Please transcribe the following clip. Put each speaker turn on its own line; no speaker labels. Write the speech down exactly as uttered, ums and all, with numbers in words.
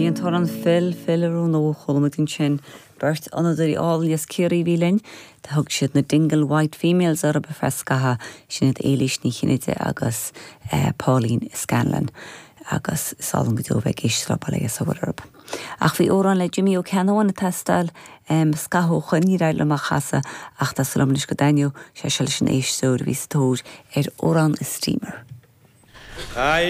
Bhí an t-amhrán Fill Fill a nó chuala muid ansin beirt fhonnadóirí álainn as Ciarraí a bhí linn, Tá thug siad na Dingle White Females orthu ar feadh scaithimh sin iad Éilís Ní Chinnéide agus eh, Pauline Scanlon agus is álainn go deo bheith ag éisteacht le baile sa bhurb. Ach bhí amhrán le Jimmy Ó Ceannabháin ag teastáil um, scaitheamh ní raibh le mar chasadh ach tá súil agam go dtaitneoidh sé seo leis an éisteoir a bhí sa tóir ar amhrán Steamer.
I